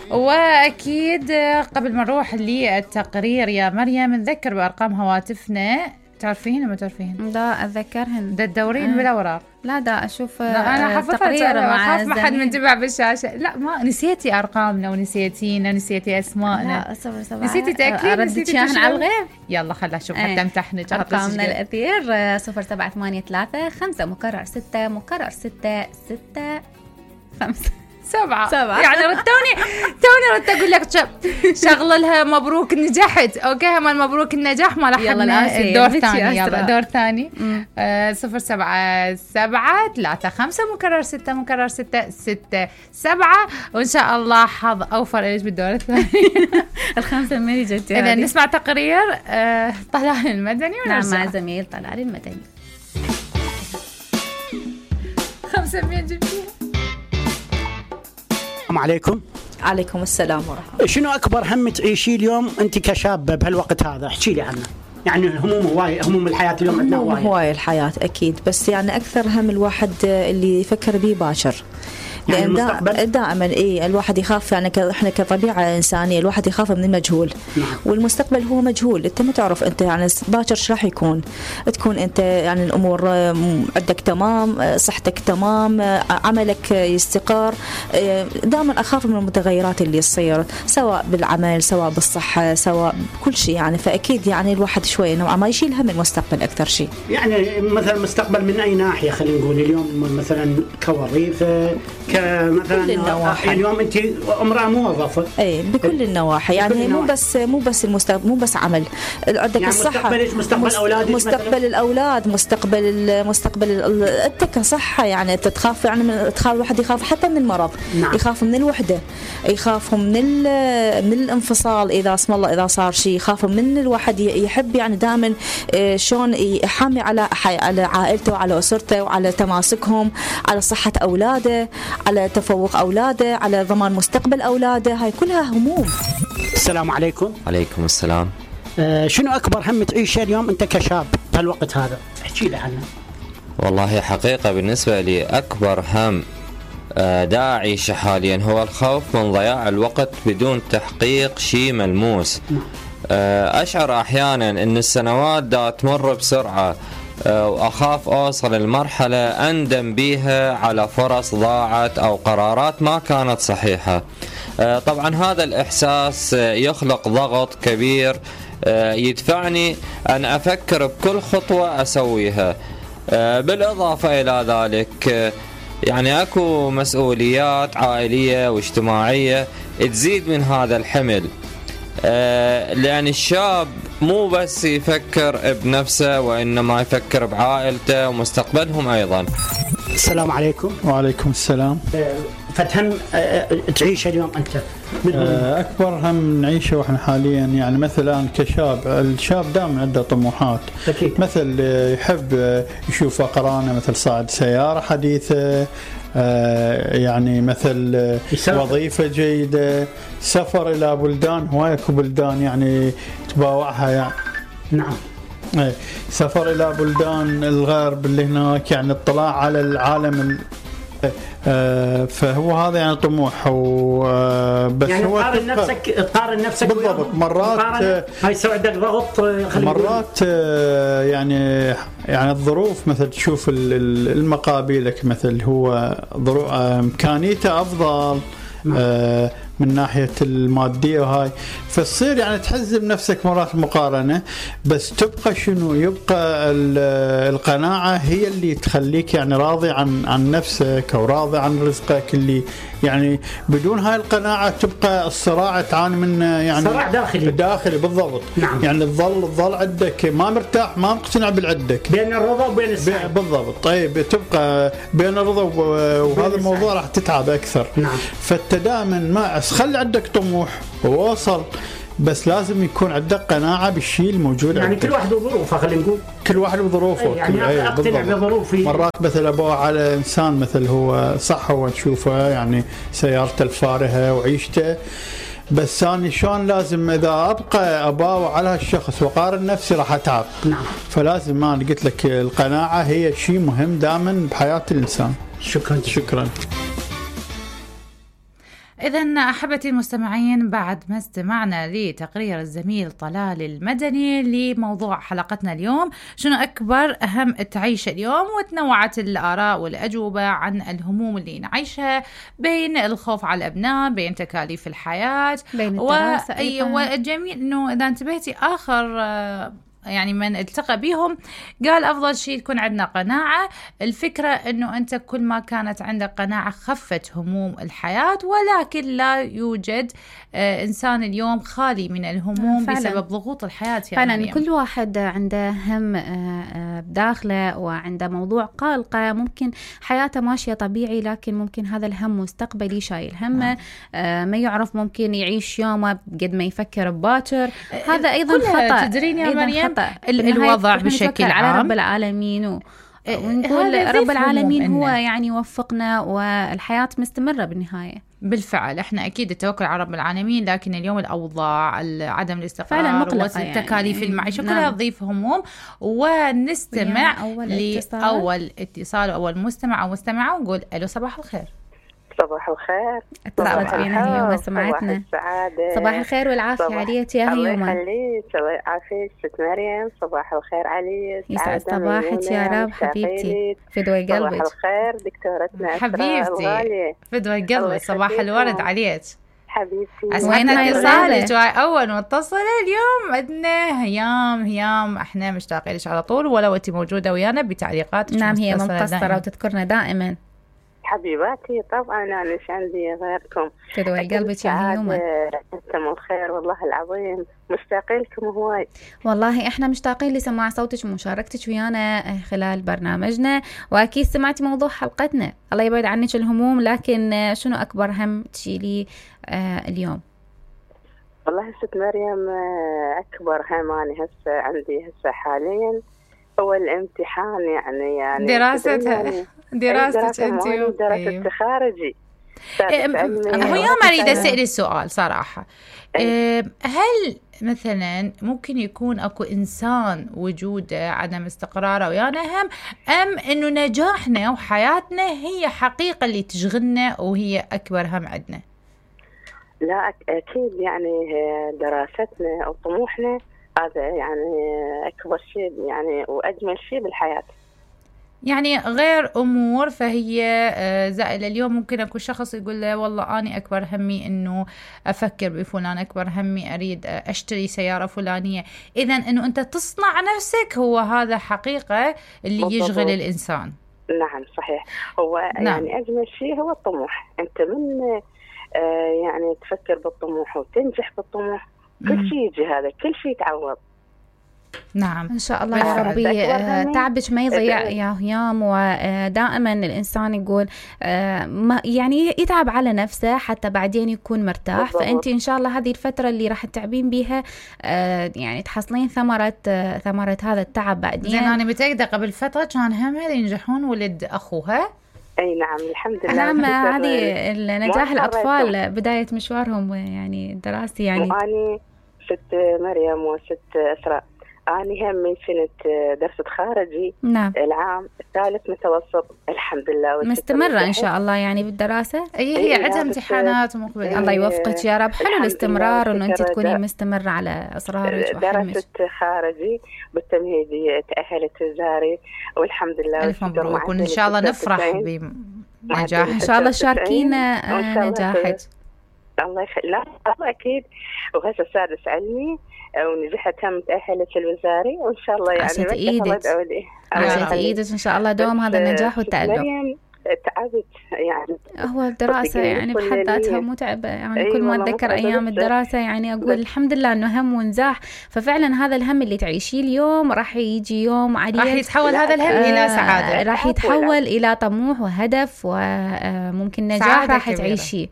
واكيد قبل ما نروح للتقرير يا مريم نذكر بارقام هواتفنا. تعرفين ولا ما تعرفين؟ لا اتذكرهن. دا تدورين بالاوراق؟ لا دا اشوف. لا انا حفظتها، اخاف ما حد منتبع بالشاشه. لا ما نسيتي ارقامنا ونسيتينا، نسيتي اسماءنا. لا صفر سبعة. نسيتي تاكيد؟ نسيتي تشاهن على الغيب. يلا خلنا نشوف حتى امتحنك. ارقامنا الاثير 0783 5 مكرر 6 مكرر 6 6 5 7. يعني توني ردت اقول لك شغل لها مبروك نجحت. اوكي هم مبروك النجاح ما لحقنا الدور الثاني. يلا دور ثاني 0773 مكرر 6 مكرر 6 6 7. وان شاء الله حظ اوفر ليش بالدور الثاني. الخمسه ما جت. اذا نسمع تقرير طلال المدني ونرجع مع زميل طلال المدني. 500 جبتيها. السلام عليكم. عليكم السلام ورحمة. شنو أكبر هم تعيشي اليوم أنت كشابة بهالوقت هذا؟ احكي لي عنه. يعني هموم هواية، هموم الحياة اليوم عندنا هواية الحياة أكيد، بس يعني أكثر هم الواحد اللي يفكر به باكر. يعني لأن دائما الواحد يخاف، يعني احنا كطبيعة إنسانية الواحد يخاف من المجهول. نعم. والمستقبل هو مجهول، انت ما تعرف انت يعني باكر ايش راح يكون. تكون انت يعني الامور عندك تمام، صحتك تمام، عملك يستقر. دائما اخاف من المتغيرات اللي تصير سواء بالعمل سواء بالصحة سواء بكل شيء يعني. فاكيد يعني الواحد شوي نوعا ما يشيل هم المستقبل اكثر شيء. يعني مثلا المستقبل من اي ناحية؟ خلينا نقول اليوم مثلا كوظيفة مثلا اليوم انت امراه موظفه. اي بكل النواحي يعني مو بس المستقبل، مو بس عمل. عندك يعني الصحه، مستقبل اولادك، مستقبل الاولاد، مستقبل انت كصحه. يعني انت تخاف، يعني الواحد يخاف حتى من المرض. نعم. يخاف من الوحده، يخاف من الانفصال اذا اسم الله اذا صار شيء، يخاف من الواحد يحب يعني دائما شلون يحامي على عائلته وعلى اسرته وعلى تماسكهم، على صحه اولاده، على تفوق أولاده، على ضمان مستقبل أولاده. هاي كلها هموم. السلام عليكم. عليكم السلام. شنو أكبر هم تعيشه اليوم أنت كشاب بهالوقت هذا؟ احكي لي عنه. والله حقيقة بالنسبة لي أكبر هم دا أعيشه حاليا هو الخوف من ضياع الوقت بدون تحقيق شيء ملموس. أشعر أحيانا أن السنوات دا تمر بسرعة، وأخاف أوصل المرحلة أندم بيها على فرص ضاعت أو قرارات ما كانت صحيحة. طبعا هذا الإحساس يخلق ضغط كبير يدفعني أن أفكر بكل خطوة أسويها. بالإضافة إلى ذلك يعني أكو مسؤوليات عائلية واجتماعية تزيد من هذا الحمل، لأن الشاب مو بس يفكر بنفسه وإنما يفكر بعائلته ومستقبلهم أيضا. السلام عليكم. وعليكم السلام. فتهم تعيش اليوم أنت؟ أكبر هم نعيشه وإحنا حاليا يعني مثلا كشاب، الشاب دائما عنده طموحات. أكيد. مثل يحب يشوف أقرانه مثل صاعد سيارة حديثة، يعني مثل وظيفة جيدة، سفر إلى بلدان، هواية بلدان يعني تباوعها يعني. نعم. سفر إلى بلدان الغرب اللي هناك، يعني اطلاع على العالم. فهو هذا يعني طموح. بس يعني هو تقارن نفسك بالضبط. مرات هاي يسوي عندك ضغط، مرات يعني الظروف مثل تشوف المقابلك مثل هو ظروف إمكانيته أفضل من ناحية المادية وهاي، فتصير يعني تحزم نفسك مرات مقارنة. بس تبقى شنو؟ يبقى القناعة هي اللي تخليك يعني راضي عن نفسك أو راضي عن رزقك اللي يعني بدون هاي القناعة تبقى الصراع تعاني منه، يعني صراع داخلي بالضبط. نعم. يعني تظل عندك ما مرتاح، ما مقتنع بالعدك، بين الرضا وبين السعي. بالضبط. طيب تبقى بين الرضا وهذا الموضوع راح تتعب أكثر. نعم. فأنت دائما ما خلي عندك طموح ووصل، بس لازم يكون عندك قناعة بالشيء الموجود يعني عندك. كل واحد وظروفه، خلينا نقول كل واحد وظروفه. يعني أقتنع بظروفي. مرات مثل أبوه على إنسان مثل هو صح، هو تشوفه يعني سيارته الفارهة وعيشته، بس أنا شلون لازم إذا أبقى أباوع على هالشخص وقارن نفسي راح أتعب. نعم. فلازم ما قلت لك القناعة هي شيء مهم دائما بحياة الإنسان. شكرا. إذن أحبتي المستمعين، بعد ما استمعنا لتقرير الزميل طلال المدني لموضوع حلقتنا اليوم شنو أكبر أهم تعيشه اليوم، وتنوعت الآراء والأجوبة عن الهموم اللي نعيشها، بين الخوف على الأبناء، بين تكاليف الحياة، بين الدراسة والجميل أنه إذا انتبهتي آخر يعني من التقى بيهم قال أفضل شيء تكون عندنا قناعة. الفكرة أنه أنت كل ما كانت عندك قناعة خفت هموم الحياة، ولكن لا يوجد إنسان اليوم خالي من الهموم فعلا. بسبب ضغوط الحياة فعلا مريم. كل واحد عنده هم بداخله وعنده موضوع قلقه، ممكن حياته ماشية طبيعي لكن ممكن هذا الهم مستقبلي شايل همه، ما يعرف ممكن يعيش يومه قد ما يفكر بباكر. هذا أيضا خطأ. تدرين يا مريم الوضع بشكل عام على رب العالمين ونقول رب العالمين هو يعني وفقنا والحياة مستمرة بالنهاية. بالفعل احنا اكيد التوكل على رب العالمين، لكن اليوم الاوضاع عدم الاستقرار والتكاليف يعني المعيشه كلها تضيف هموم. ونستمع لاول اتصال واول مستمع او مستمعه ونقول الو صباح الخير. صباح الخير. اتصلت بينا هي وسمعتنا. صباح الخير والعافية عليك يا هيومة. الله يخليك. عافية ست مريم. صباح الخير عليك. يسعد صباحك يا رب حبيبتي. فدوى قلبك. صباح الخير دكتورتنا حبيبتي. فدوى قلبك. صباح الورد عليك حبيبتي. اسمعنا اتصالك اول متصله اليوم عندنا هيام. احنا مشتاقين لك على طول، ولو انت موجوده ويانا بتعليقاتك. نعم هي مقصره وتذكرنا دائما حبيباتي. طبعا أنا مش عندي غيركم. تدوي قلبك يا هيومة. أنتم الخير والله العظيم، مشتاقين لكم هواي. والله إحنا مشتاقين لسماع صوتك ومشاركتك ويانا خلال برنامجنا، وأكيد سمعتي موضوع حلقتنا. الله يبعد عنك الهموم، لكن شنو أكبر هم تشيلي اليوم؟ والله ست مريم أكبر هم أنا هسه عندي حاليا هو الامتحان، يعني دراستها دراستك انت دراسة خارجي. هو يوم اريد اسال السؤال صراحه، هل مثلا ممكن يكون اكو انسان وجوده عدم استقراره ويانا هم، ام انه نجاحنا وحياتنا هي حقيقه اللي تشغلنا وهي اكبر هم عندنا؟ لا اكيد يعني دراستنا وطموحنا هذا يعني أكبر شيء يعني وأجمل شيء بالحياة. يعني غير أمور فهي زائلة. اليوم ممكن أكون شخص يقول له والله أنا أكبر همي إنه أفكر بفلان، أكبر همي أريد أشتري سيارة فلانية. إذن إنه أنت تصنع نفسك هو هذا حقيقة اللي بالضبط. يشغل الإنسان. نعم صحيح. هو نعم. يعني أجمل شيء هو الطموح. أنت من يعني تفكر بالطموح وتنجح بالطموح كل شيء يجي، هذا كل شيء يتعوض. نعم إن شاء الله يا ربي. تعبك ما يضيع يا هيام، ودائما الإنسان يقول يعني يتعب على نفسه حتى بعدين يكون مرتاح بالضبط. فأنت إن شاء الله هذه الفترة اللي راح تتعبين بيها يعني تحصلين ثمرة هذا التعب بعدين. زين أنا متأكدة قبل فترة كان همها ينجحون ولد أخوها. أي نعم الحمد لله. نعم هذه النجاح الأطفال بداية مشوارهم يعني الدراسي يعني. وأني ست مريم وست أسراء، أنا هم من سنة درست خارجي. نعم. العام الثالث متوسط الحمد لله مستمرة إن شاء الله يعني بالدراسة. هي عندها امتحانات ومقبلة. الله يوفقك يا رب. حلو الاستمرار وإنه أنت تكوني مستمرة على أصرارك وحلمك. درست خارجي بالتمهيدي، تأهلت وزاري والحمد لله. ألف مبروك وإن شاء الله نفرح بنجاح. إن شاء الله شاركينا نجاحك. الله يخليك. لا أكيد. وهسه سادس علمي ونجحت هم تأهلت الوزاري وإن شاء الله يعني عشت إيدك إن شاء الله دوم هذا النجاح والتألق. تعبت يعني. هو الدراسة يعني بحد ذاتها متعبة يعني. كل ما أتذكر أيام الدراسة يعني أقول الحمد لله إنه هم ونزاح. ففعلا هذا الهم اللي تعيشيه اليوم راح يجي يوم عليه راح يتحول هذا الهم إلى سعادة، راح يتحول إلى طموح وهدف وممكن نجاح راح تعيشيه.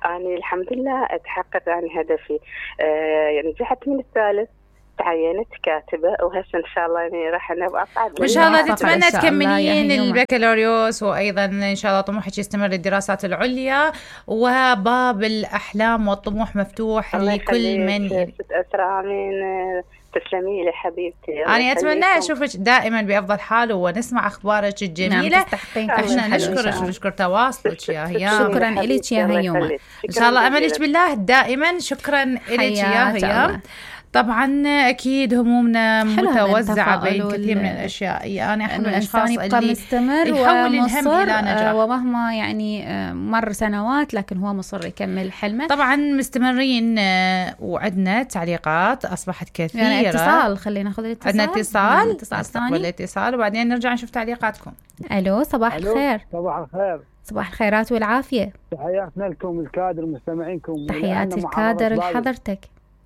أنا الحمد لله أتحقق عن هدفي. يعني نجحت من الثالث تعينت كاتبة، وهسه إن شاء الله يعني راح نبقى أصعد. وإن شاء الله تتمنى تكملين البكالوريوس، وأيضا إن شاء الله طموحك يستمر للدراسات العليا، وباب الأحلام والطموح مفتوح لكل من ست أسرع. آمين. تسلمي لي حبيبتي. أنا أتمنى أشوفك دائما بأفضل حال ونسمع أخبارك الجميلة. نعم. احنا نشكر تواصلك يا هيام. شكرا لك يا هيام. إن شاء الله أملك بالله دائما. شكرا لك يا هيام. طبعا اكيد همومنا متوزعه بين كثير من الاشياء. انا احد من الاشخاص اللي مستمر يحول الهم الى نجاح، ومهما يعني مر سنوات لكن هو مصر يكمل حلمه. طبعا مستمرين، وعندنا تعليقات اصبحت كثيره. يعني اتصال، خلينا ناخذ الاتصال. عندنا اتصال ثاني. الاتصال وبعدين نرجع نشوف تعليقاتكم. الو، صباح الخير. صباح الخير. صباح الخيرات والعافيه. تحياتنا لكم الكادر مستمعينكم. تحياتي الكادر لحضرتك.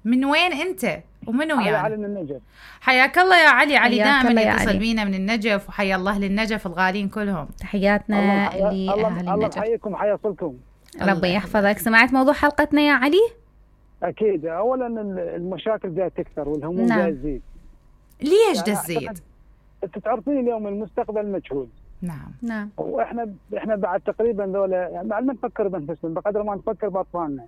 من وين انت ومنو يعني؟ علي من النجف. حياك الله يا علي. علي دائما يتصل بينا من النجف، وحيا الله للنجف الغالين كلهم. تحياتنا لأهل النجف. الله يحييكم وحيصلكم. ربي يحفظك. سمعت موضوع حلقتنا يا علي؟ اكيد. اولا المشاكل جايه تكثر والهموم جايه تزيد. ليش تزيد؟ انت تعرفين اليوم المستقبل مجهول. نعم. واحنا بعد تقريبا ذولا يعني بعد ما نفكر بانفسنا بقدر ما نفكر باطفالنا.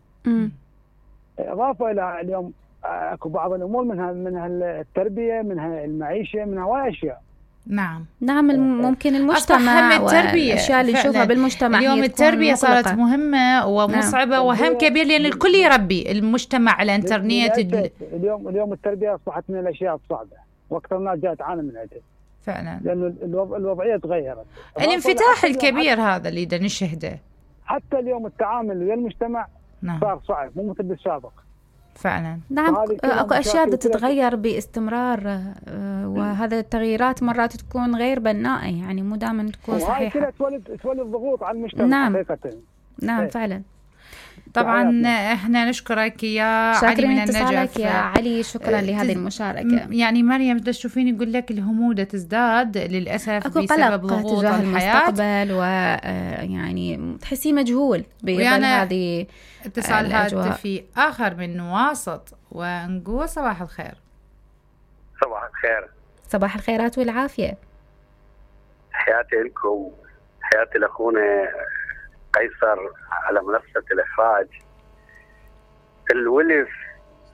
اضافه الى اليوم اكو بعض الامور منها التربيه، منها المعيشه، منها هواي اشياء. نعم ممكن المجتمع والاشياء اللي نشوفها بالمجتمع. اليوم التربيه صارت مهمه ومصعبه. نعم. وهم كبير لان الكل يربي. المجتمع، الانترنت، اليوم التربيه اصبحت من الاشياء الصعبه، واكثر الناس جاء تعاني من عدة فعلا، لأن الوضعية تغيرت. الانفتاح الكبير هذا اللي دا نشهده. حتى اليوم التعامل ويا المجتمع صار صعب، مو مثل بالسابق. فعلا. نعم. اكو اشياء تتغير باستمرار، وهذا التغييرات مرات تكون غير بناءة، يعني مو دائما تكون صحيحة. وهي تولد ضغوط على المجتمع. حقيقة. نعم فعلا. طبعا احنا نشكرك يا علي من النجف. يا علي، شكرا لهذه المشاركة. يعني مريم تشوفين يقول لك الهموم تزداد للأسف بسبب ضغوط تجاه الحياة، المستقبل، ويعني تحسي مجهول بظل هذه اتصال هاتفي آخر من نواصط، ونقول صباح الخير. صباح الخير. صباح الخيرات والعافية. حياتي لكم، حياتي لأخونا قيصر على منصة الإخراج.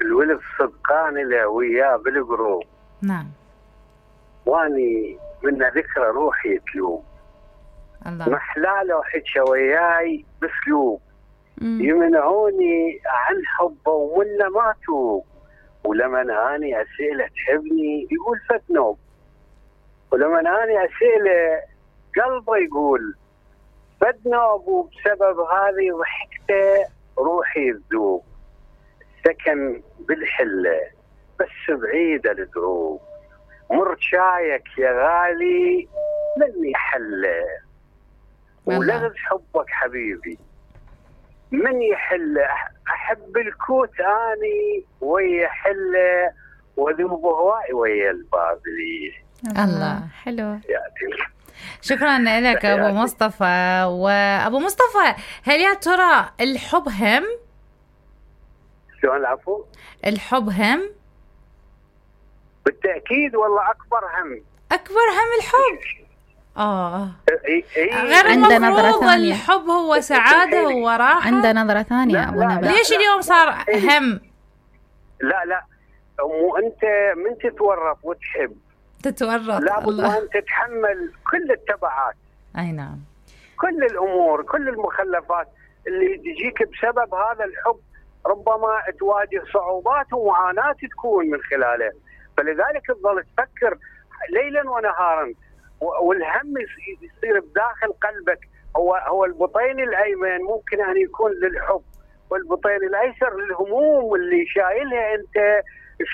الولف صدقان له وياه بالقروب. نعم. واني من ذكرى روحي تلوم. الله. محلاله حكى وياي بسلوب. يمنعوني عن حبه ومنه ما توب. ولما اني اسئله تحبني يقول فتنوب. ولما اني اسئله قلبه يقول فدنوب. وبسبب هذه ضحكته روحي تذوب. سكن بالحله بس بعيد الدروب. مر شايك يا غالي من يحله. ولغز حبك حبيبي من يحله. احب الكوت اني ويا حله وذوب هواي ويا البابلي. الله حلو. شكرا لك ابو مصطفى. وابو مصطفى، هل يا ترى الحب هم؟ شلون العفو؟ الحب هم؟ بالتاكيد والله اكبر هم. اكبر هم الحب. غير عنده نظرة ثانية. الحب هو سعادة وراحة. عنده نظرة ثانية أبو نبيل. ليش اليوم صار هم؟ لا مو انت من تتورط وتحب تتورط، لابد وان تتحمل كل التبعات. اي نعم. كل الامور، كل المخلفات اللي تجيك بسبب هذا الحب. ربما تواجه صعوبات ومعاناة تكون من خلاله، فلذلك تظل تفكر ليلا ونهارا، والهم يصير بداخل قلبك. هو البطين الايمن ممكن ان يكون للحب، والبطين الايسر للهموم اللي شايلها انت.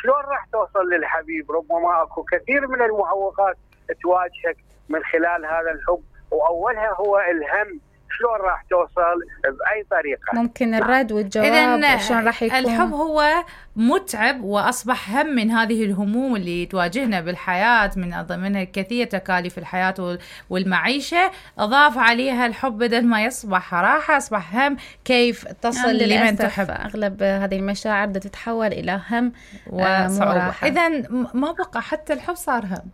شلون راح توصل للحبيب؟ ربما اكو كثير من المعوقات تواجهك من خلال هذا الحب، واولها هو الهم. شلون راح توصل باي طريقه. ممكن الرد والجواب شلون راح يكون. الحب هو متعب واصبح هم من هذه الهموم اللي تواجهنا بالحياه، من ضمنها كثير تكاليف الحياه والمعيشه، اضاف عليها الحب بدل ما يصبح راحه اصبح هم. كيف تصل لمن تحب؟ اغلب هذه المشاعر بدها تتحول الى هم وصعوبه. اذا ما بقى حتى الحب صار هم.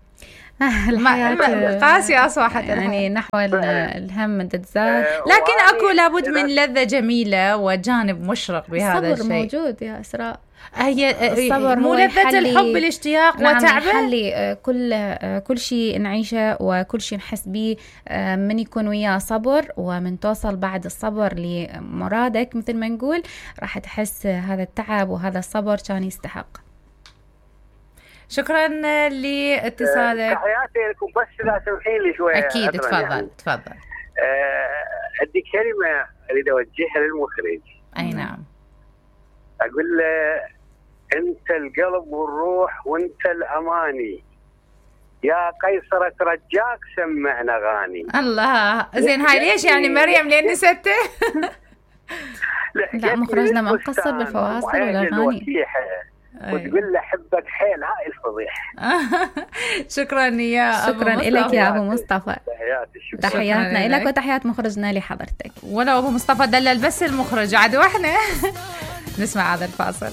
الحياة قاسية أصبحت يعني نحو الهم تتزاد. لكن أكو لابد من لذة جميلة وجانب مشرق بهذا الشيء. الصبر موجود يا إسراء. هي الصبر مو لذة الحب الاشتياق وتعبه. يحلي كل شيء نعيشه وكل شيء نحس به من يكون وياه صبر، ومن توصل بعد الصبر لمرادك مثل ما نقول راح تحس هذا التعب وهذا الصبر كان يستحق. شكرا لاتصالك. تحياتي لكم، بس لا تسمحين لي شويه. اكيد تفضل يعني. تفضل. عندي كلمه اريد اوجهها للمخرج. اي نعم. اقول له انت القلب والروح وانت الاماني، يا قيصر ترجاك سمعنا اغاني. الله زين، هاي ليش يعني مريم لين نسيته؟ لا مخرجنا ما مقصر بالفواصل والاغاني. وتقول له حبك حيل، هاي الفضيح. شكرا يا شكرا لك يا ابو مصطفى. تحياتنا لك وتحيات مخرجنا لحضرتك. ولو ابو مصطفى دلل بس المخرج عاد واحنا نسمع هذا الفاصل.